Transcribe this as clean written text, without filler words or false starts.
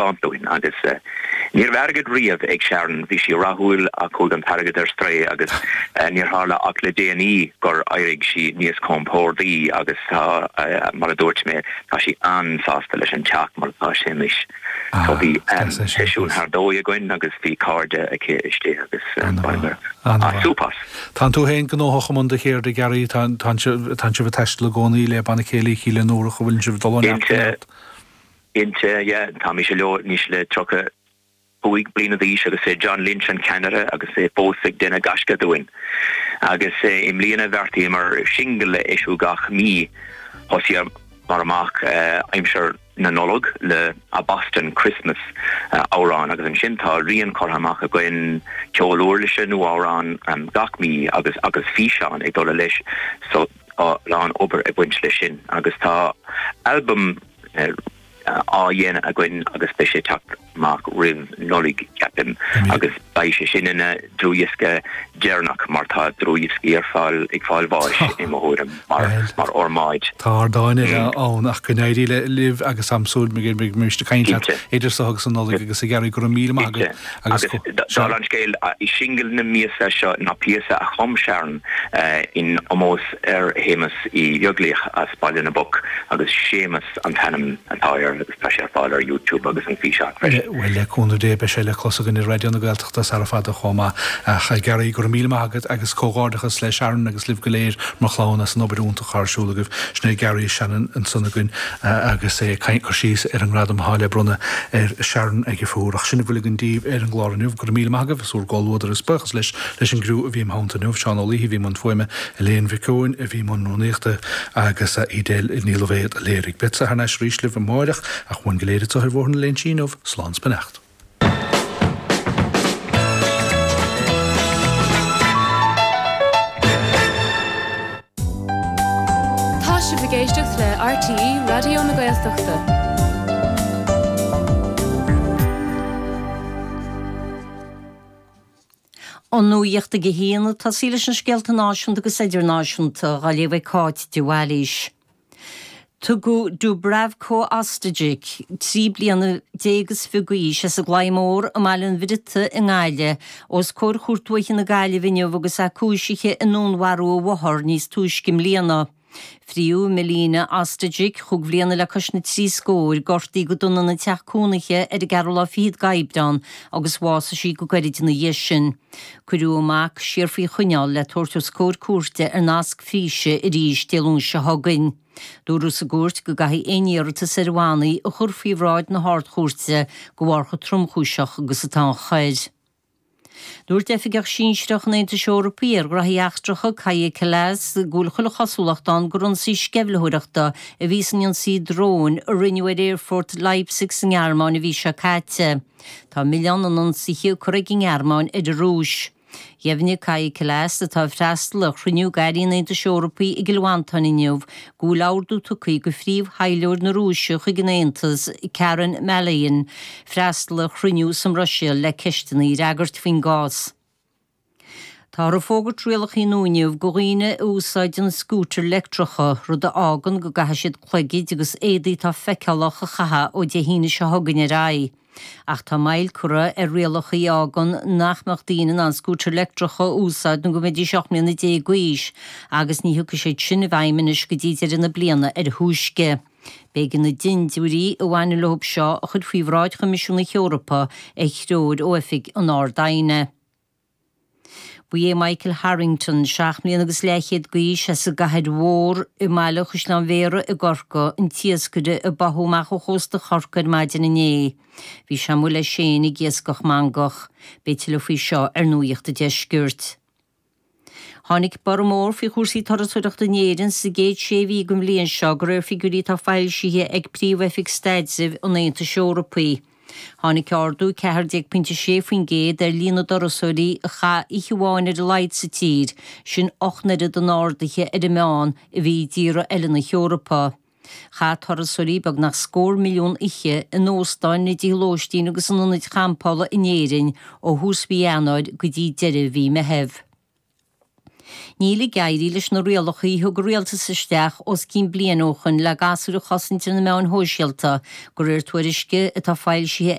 Taispeáint dúinn agus ní raibh airgead riamh ag Sharon, bhí sí rathúil ach chuaigh an t-airgead ar strae agus níor tharla ach le déanaí gur éirigh sí níos compórdaí agus tá, mar a dúirt mé, tá sí an-sásta leis an teach mar atá sé anois. So bhí seisiún thar dóigh againn agus bhí cairde aici istigh agus bhaineamar súp as. Tánn tú féin gnóthach i mbun do cheirde, Gary, tánn sibh ag taisteal i gcónaí le banna céilí Chíle an Iúrach, an bhfuileann sibh ag dul ó neart go neart? Cinnte, yeah. Táimse leo anois le 35 bliana d'aois agus é John Lynch an ceannaire agus é fós ag déanamh gaisce dúinn. Agus i mbliana bheartaíomar singil a eisiú gach mí. Thosaíomar amach aimsir na Nollag le A Boston Christmas amhrán agus ansin tá rian curtha amach againn, ceol uirlise nó amhrán gach mí agus agus físeán ag dul leis so tá a lán obair ag baint leis sin agus tá albam á dhéanamh againn agus beidh sé ag teacht amach roimh Nollaig, ceapaim, agus beidh sé sin ina dlúthdhiosca deireanach mar tá dlúthdhioscaí ar fáil ag fáil bháis, i mo thuairim, mar fhormáid. Tá ardáin eile ann ach go n-éirí libh agus táim ag súil go mbeimid ag caint leat idir seo agus an Nollaig agus a Ghearaí, go raibh míle maith agat agus go. Dála an scéil, singil na míosa seo ná píosa a chum Sharon in omós ar Shéamus Uí Bheaglaoich as Baile na bPoc agus Séamus an t-ainm atá air agus tá sé ar fáil ar YouTube agus an físeán freisin. Bhuel, le cúnamh Dé beidh sé le clos againn ar Raidió na Gaeltachta sara fada chomh maith. Ach a Ghearaí, go raibh míle maith agat agus comhghairdeachas le Sharon agus libh go léir mar chlann as an obair iontach atá ar siúl agaibh. Sin é Gary Shannon ansan againn agus é ag cur síos ar an ngradam atá le bronnadh ar Sharon ag an Phúir. Ach sin a bhfuil againn daoibh ar an gclár inniu. Go raibh míle maith agaibh as bhur gcomhluadar is buíochas leis leis an gcriú a bhí im theannta inniu, Seán Ó Laoithe a bhí i mbun fuaime, Elaine Mhic Eoin a bhí i mbun rúnaíochta agus Edel Ní Loibhéad a léirigh. Beadsa thar n-ais arís libh amáireach ach uainn go léir anseo ar Bhóthar na Léinsí inniu, slán 's beannacht. Tá sibh ag éisteacht le RTÉ Raidió na Gaeltachta. An nuacht ag a haon, ag tosaí leis na scéalta náisiúnta agus idirnáisiúnta, á léamh ag Cáit de Bhailís. Tugadh Dubravko Ostojic, 13 bliana is fiche d'aois, as an gClaí Mór i mBaile an Bhriotaigh i nGaillimh, os comhair Chúirt Dúiche na Gaillimhe inniu agus é cúisithe i ndúnmharú a mháthar níos túisce i mbliana. Fríodh Milena Ostojic, chúig bhliana le cois na dtrí scóir, gortaithe go dona ina teach cónaithe ar an gceathrú lá fichead d'Aibreán agus bhásaigh sí go gairid ina dhiaidh sin. Cuireadh a mac siar faoi choinneáil le tabhairt os comhair cúirte ar nasc físe arís Dé Luain seo chugainn. Dúradh sa gcúirt go gcaithfí aon iarratas ar bhannaí a chur faoi bhráid na hArd-Chúirte de bharr chomh tromchúiseach agus atá an choir. Dúirt oifigeach sinsearach an Aontais Eorpaigh ar ghraithí eachtracha, Kaja Kallas, go bhfuil chuile chosúlacht ann gur ionsaí sceimhlitheoireachta a bhí san ionsaí dróin a rinneadh ar aerfort Leipzig sa nGearmáin an mhí seo caite. Tá milleán an ionsaithe curtha ag an nGearmáin ar an Rúis. Dheimhnigh Kaja Kallas, atá ag freastal ar chruinniú d'airí an Aontais Eorpaigh i gCill Mhantáin inniu, go bhfuil ordú tugtha do phríomh-thaidhleoir na Rúise chuig an Aontas, Karen Maloyan, freastal ar chruinniú sa mBruiséil le ceisteanna a fhreagairt faoin gcás. Táthar ag fógairt rialacha nua inniu do dhaoine a úsáideann scútair leictreacha, rud a fhágann go gcaithfidh siad cloigid agus éadaí atá feiceálach a chaitheamh ó Dé hAoine seo chugainn ar aghaidh. Ach tá moill curtha ar rialacha a fhágann nach mbeadh daoine in ann scútair leictreacha a úsáid nó go mbeidís 18 mbliana d'aois agus ní thiocfaidh siad sin i bhfeidhm anois go dtí deireadh na bliana ar a thúisce. B'éigean na dindiúirí a bhaineann leo seo a chur faoi bhráid Choimisiún na hEorpa ar threoir ó Oifig an Ard-Aighne. Ba é Michael Harrington, 7 mbliana agus leathchéad d'aois, as an gCathair Mhór i mbaile Chaisleán Bhéarra i gCorcaigh, an t-iascaire a báthadh amach ó chósta Chorcaí ar maidin inné. Bhí sé amuigh leis féin ag iascach mangach. Beidh tuilleadh faoi seo ar Nuacht an Deiscirt. Tháinig borradh mór faoi chúrsaí turasóireachta in Éirinn sa gcéad sé mhí den bhliain seo, de réir figiúirí atá foilsithe ag Príomh-Oifig Staidrimh an Aontais Eorpaigh. Tháinig ardú 14.6% ar líon na dturasóirí a chaith oíche amháin ar a laghad sa tír, sin 8 n-oiread an ardaithe ar an meán a bhí i dtíortha eile na hEorpa. Chaith turasóirí beagnach scór milliún oíche in óstáin, i dtithe lóistín agus in ionaid champála in Éirinn ó thús mhí Eanáir go dtí deireadh mhí Meithimh. Níl ag éirí leis na rialacha a thug an rialtas isteach os cionn bliain ó shoin le gasúir a chosaint ar na meáin shóisialta, de réir tuairisce atá foilsithe.